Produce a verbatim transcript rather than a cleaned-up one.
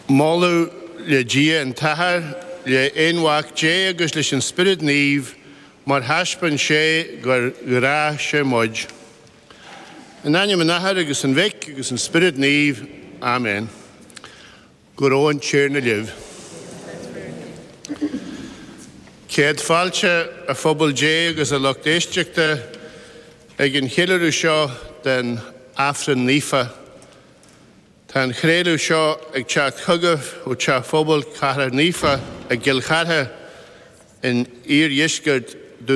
Moladh le Dia an tAthair, le hAonmhac Dé agus leis an Spiorad Naomh, mar thaispeáin sé gur ghrá sé muid. In ainm an Athar agus an Mhic agus an Spiorad Naomh, Amen. Go raibh an Tiarna libh. Céad fáilte a phobal Dé agus a lucht éisteachta ag an cheiliúradh seo den Aifreann Naofa. Tá an craoladh seo ag teacht chugaibh ó Teach Phobail Cathrach Naofa i gCill Chartha in iardheisceart